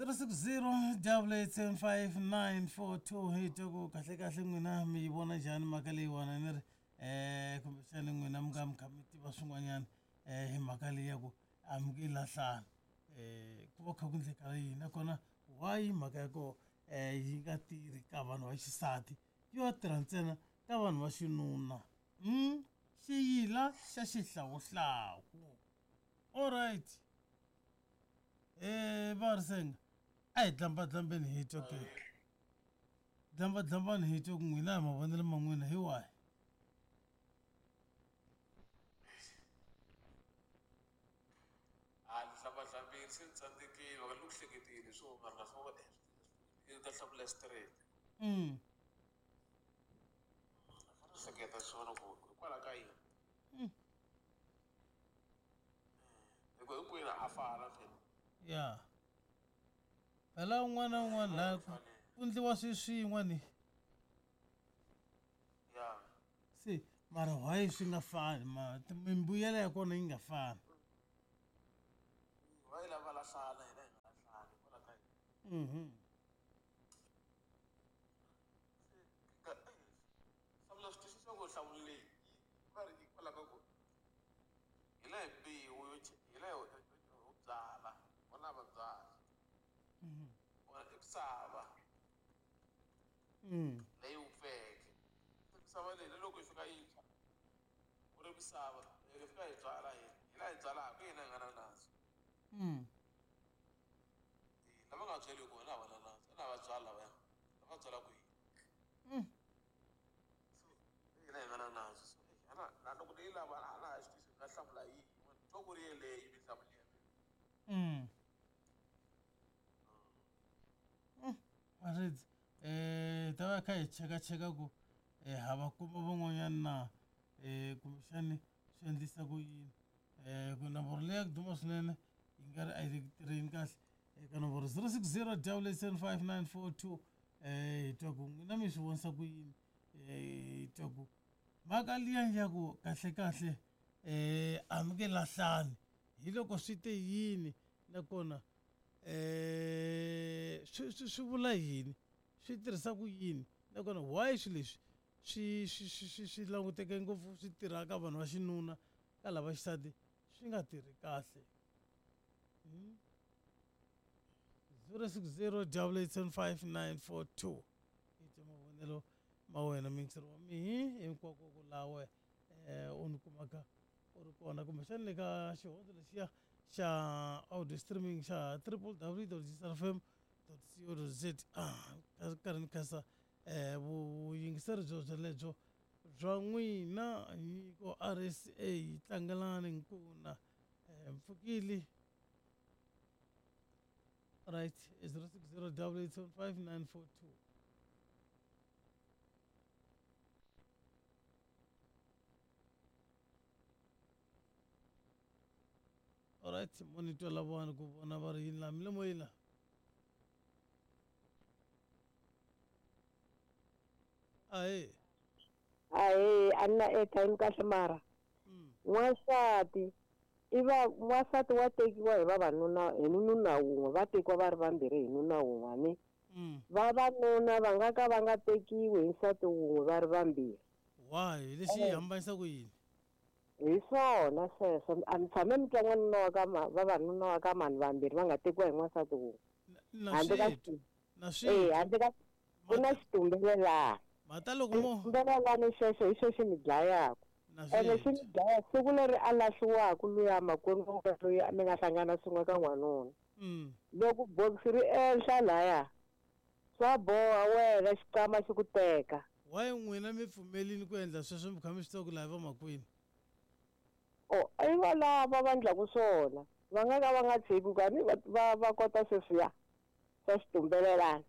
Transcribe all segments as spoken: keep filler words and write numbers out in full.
zero six zero double eight seven five nine four two hi twa ku kahle kahle n'wina mi yi vona njhani mhaka leyiwani ni ri um kumbexani n'wina mi nga mi kha mi tiva swin'wanyana um hi mhaka leyi ya ku a mi nge lahlani um ku va kha ku endleka yini nakona why mhaka ya koho um yi nga tirhi ka vanhu va xisati yo tirha ntsena ka vanhu va xinuna mm? Xiyila xa xihlawuhlawu. Alright eh va ri senga a hi dlambadlambeni hi twa ke dlambadlambani hi twa ku n'wina hi mavonelo ma n'wina hi wahi. A ni dlambadlambini se ni tsandzekile loko ni ku hleketile swo mara na swo i ta hlamula straight. Mm. Hleketa swona ku hikwalaho ka yini Mm. hikuva hinkwenu ha fana phela. Ya phela un'wana na un'wana laha ku ku endliwa swilo swin'we ni ya se mara why swi nga fani ma mimbuyelo ya kona yi nga fani. Va yi lava lahlana hina hi nga lahlani hikwalaho ka yini. Mhm. Hlamula swi twisisa ku nhlamulo leyi va ri hikwalaho ka ku hi la hi mbewu yo hi la ho byala vona va byala vona i misava Mm. leyi wupfeke misava leyi na loko yi fika yi tshwa ku ri misava yi fika hi byala hina hi la hi byalaka hina hi nga na nandzu. Mm. Lava nga byeliku vona a va na nandzu na va byala lavaya lava byalaka hina. Mm. Hina hi nga na nandzu so na na loko ni yi lava a na ha swi twisisi nga hlamula yihi twa ku ri yeleyo mi hlamula ya mina. Mm. Mm. Maredzi eh ta va kha hi chekacheka ku eh ha va kuma van'wanyana na eh kumbexani swi endlisa ku yini eh ku nomboro leyi ya ku duma swinene yi nga ri a yi le ku tirheni kahle eka nomboro zero six zero double eight seven five nine four two eh hi twa ku n'wina mi swi vonisa ku yini eh hi twa ku mhaka liya ya ku kahle kahle eh a mi nge lahlani hi loko swi te yini nakona eh swi swi swi vula yini swi tirhisa ku yini nakona why swilo leswi swi swi swi swi swi languteke ngopfu swi tirha ka vanhu va xinuna ka lava xisati swi nga tirhi kahle. Mm. zero six zero double eight seven five nine four two i twa mavonelo ma wena muyingiseri wa mihi hinkwako ku lawe eh u ni kumaka u ri kona kumbexani le ka xihondzo lexiya xa audio streaming xa triple w dot fm dot co dot z a karhi ni khensa eh vuyingiseri byo byelebyo bya n'wina nyiko R S A tlangelani nkuna eh mpfukile. Right, zero six zero double eight seven five nine four two. Alright, monitor la vona ku vona va ri yini laha mi le moyeni laha. Ahee. Ahee, a ni na airtime kahle mara. Mm. N'wansati i va n'wansati wa tekiwa hi vavanuna hi nuna wun'we va tekiwa va ri vambirhi hi nuna wun'we ni. Mm. Vavanuna va nga ka va nga tekiwi hi nsati wun'we va ri vambirhi. Why? Lexi yi hambanisa ku yini? Hi swona sweswo a mi tshame mi twa n'wanuna wa ka ma vavanuna wa ka mani vambirhi va nga tekiwa hi n'wansati wun'we. Na Handle ka swi xi- na swi Eh, handle ka ku na xitumbelelana. mhata loko mo Xitumbelelana xexo hi xo xi mi dlayaka. na Ene xi swi mi dlaya siku leri a lahliwaka luya makwenu wa wena loyi mi nga hlangana swin'we ka n'wanuna. Mm. Loko bokisi ri enhla laya swa boha wena xikwama xi ku teka. Why n'wina mi pfumelini ku endla sweswo mi kha mi swi tiva ku laha vamakwenu? Oh, i valava va endlaku swona va nga ka va nga tshiki ku ni va va va kota sweswiya swa xitumbelelana.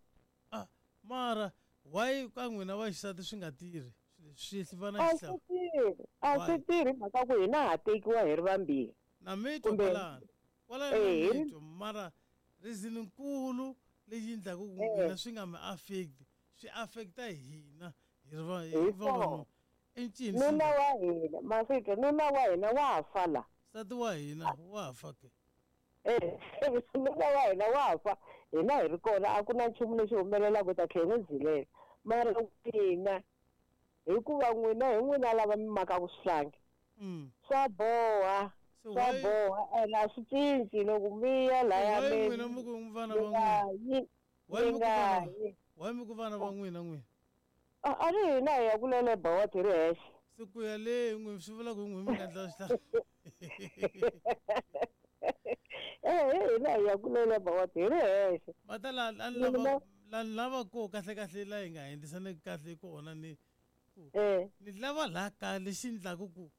Ah, mara why ka n'wina va xisati swi nga tirhi swi va na A swi xihlawu tirhi a swi Why? tirhi mhaka ku hina ha tekiwa hi ri vambirhi. Na mi twa Kumbe kwalano kwalano eh na hi mi ri twa mara reason nkulu leyi endlaku ku eh n'wina swi nga mi affect swi affecta hina hi ri va hi hi vavanuna swona. i ncini swi Nuna nga wa hina maswitwa nuna wa hina wa fa la. nsati wa hina wa fa ke Eh nuna wa hina wa fa Hina hi ri kona a ku na nchumu lexi humelelaka hi ta tlhela hi n'wi zilela. Mara n'wina hikuva n'wina hi n'wina lava mi makaku swihlangi. Mm. Swa boha. So Swa why boha ene a swi cinci loko mi ya laya why mi n'wina mi ku vana mi va nga n'wina? yi Why mi mi ku nga vana yi. why mi ku vana va n'wina n'wina? A a ri hina hi ya ku leleba wa hi ri hexe. Se ku ya le n'wina swi vula ku n'wina mi nga endla swihlangi. Eh hina hi ya ku leleba wa hi ri hexe. Va ta la la Mina lava la lava ko kahle kahle la hi nga endlisaneki kahle kona ni ku eh ni lava laha kaya lexi endlaku ku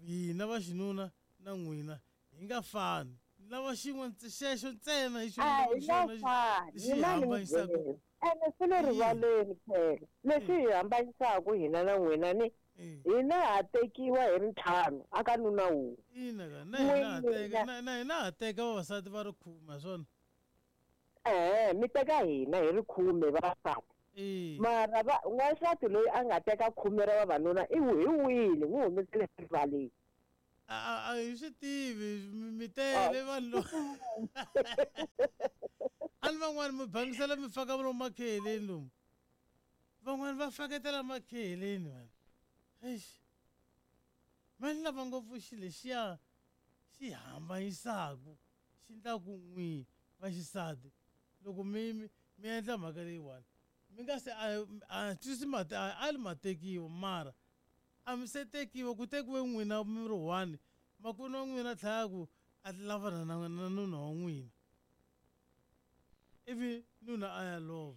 hina va xinuna na n'wina hi nga fani. Ni lava xin'we xexo ntsena hi xona a ni hi lavaka nga xona fani lexi hi mina ni mi hambanyisaka. byela. Ene swi le I yini? rivaleni phela leswi hi hambanyisaka hina na n'wina ni Eh. hina ha tekiwa hi ri ntlhanu a ka nuna wun'we. Ina ka na hina ha teka N'wina na na hina ha teka vavasati va ri khume ha swona. eh mi teka hina hi ri khume vavasati. Eh. Mara va n'wansati loyi a nga teka khume ra vavanuna i hi wile n'wi humesele rivaleni. A a a hi swi tivi mi mi tele vanhu lo. A ni van'wani mi bangisela mi faka lomu makheleni lomu. Van'wani va faketela makheleni vanhu. Eish. Ma ni lava ngopfu xilo lexiya xi hambanyisaku xi endlaku n'wi va xisati loko mi mi mi endla mhaka leyiwani mi nga se a a twisisi mati a a li ma tekiwa mara a mi se tekiwa ku tekiwe n'wina mi ri one makwenu wa n'wina a tlhela a ku a lavana na na nuna wa n'wina ivi nuna a ya lova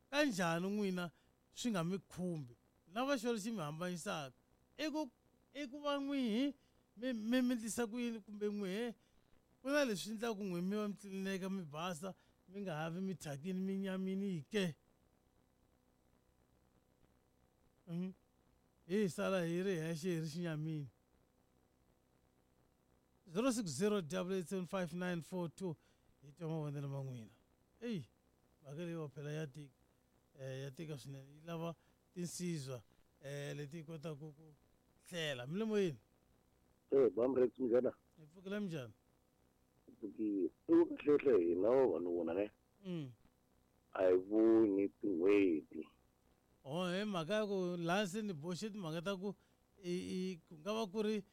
kanjhani n'wina swi nga mi khumbi lava xona xi mi hambanyisaka i ku i ku va n'wihi mi mi mi endlisa ku yini kumbe n'wihe ku na leswi endlaku n'wi mi va mi tlilineka mi basa mi nga ha vi mi thyakini mi nyamini ke. Mhm. Hi sala hi ri hexe hi ri xinyamini. zero six zero double eight seven five nine four two hi twa mavonelo ma n'wina. Eyi mhaka leyiwa phela ya tika eh ya tika swinene yi lava tinsizwa eh leti kotaka ku hlela. Mi le moyeni? Eh, bamrex minjhani? Hi pfukile minjhani? Pfukile. I ku kahlekahle hina vavanuna ne Mm. a hi voni tin'hweti. Oh hi mhaka ya ku laha se ni boxe timhaka ta ku i i ku nga va ku ri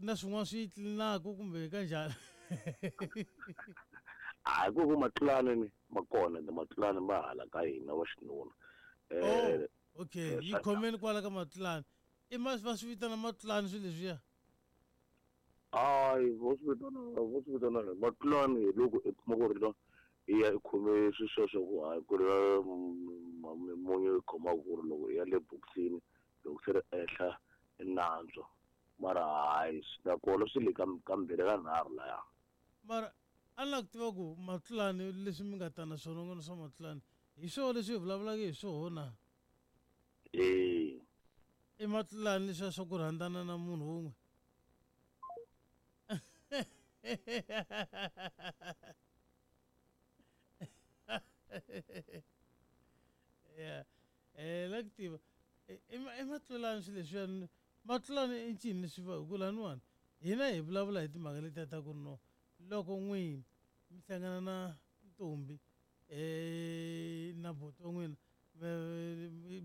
na swin'wana swi tlilinaka kumbe kanjhani. A hi ku ku matlulani ni ma kona ende matlulani ma hala ka hina va xinuna. Eh Oh, okay yi khomeni kwala ka matlulani. I ma va swi vitana matlulani swilo leswiya? Hayi vo swi vitana vo swi vitana matlulani hi loko i kuma ku ri no i ya i khome swilo sweswo ku hayi ku ri mimunyu yi khomaka ku ri loko i ya le bokisini loko se ri ehla i nantswa mara hayi nakona swi le ka kambirhi ka nharhu laya. Mara a ni lava ku tiva ku matlulani leswi mi nga ta na swona n'wina swa matlulani hi swona leswi hi vulavulaka hi swona na? Eh. I matlulani leswiya swa ku rhandzana na munhu wun'we? Yeah. Eh la ku tiva i i matlulani swilo leswiya matlulani i ncini leswi va hi ku laniwani hina hi vulavula hi timhaka letiya ta ku ri no loko n'wini mi hlangana na ntombi eh na buti wa n'wina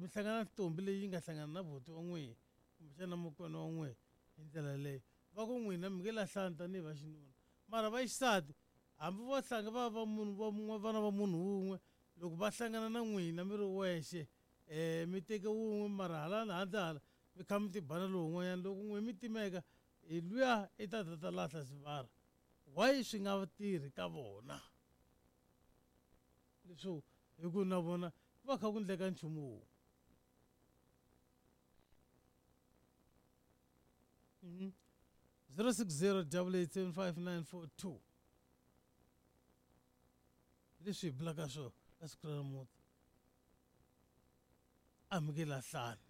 mi hlangana na ntombi leyi nga hlangana na buti wa n'wina kumbexana makwenu wa n'wina hi ndlela yaleyo va ku n'wina mi nge lahlani tanihi va xinuna mara va xisati hambi vo hlanga va va munhu va mun'we vana va munhu wun'we loko va hlangana na n'wina mi ri wexe eh mi teke wun'we mara hala handle hala mi kha mi tibana lowun'wanyana loko n'we mi timeka hi luya i ta ta ta lahla sivara why swi nga tirhi ka vona leswo hi ku na vona ku va kha ku endleka nchumu wun'we. Mhm. zero six zero double eight seven five nine four two leswi hi vulaka swona ka siku ra namuntlha a mi nge lahlani.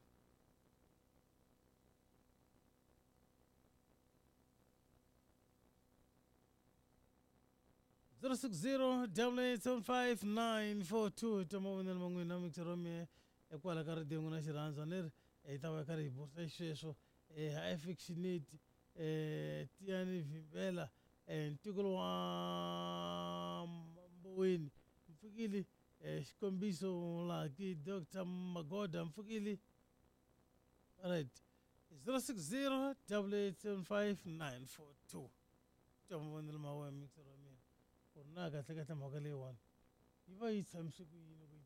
zero six zero double eight seven five nine four two twa mavonelo ma n'wina mixer wa mehe ekwala ka radiyo n'wina xirhandza ni ri hi ta va hi karhi hi busa xisweswo eh affectionate eh Tiyani Vimbela eh ntikelo wa Mpfukile um xikombiso Mulaki Doctor Magoda Mpfukile. Alright, zero six zero double eight seven five nine four two. Twa mavonelo ma wena mixer wa mina ku ri na kahle kahle mhaka leyiwani yi va yi tshamise ku yini ku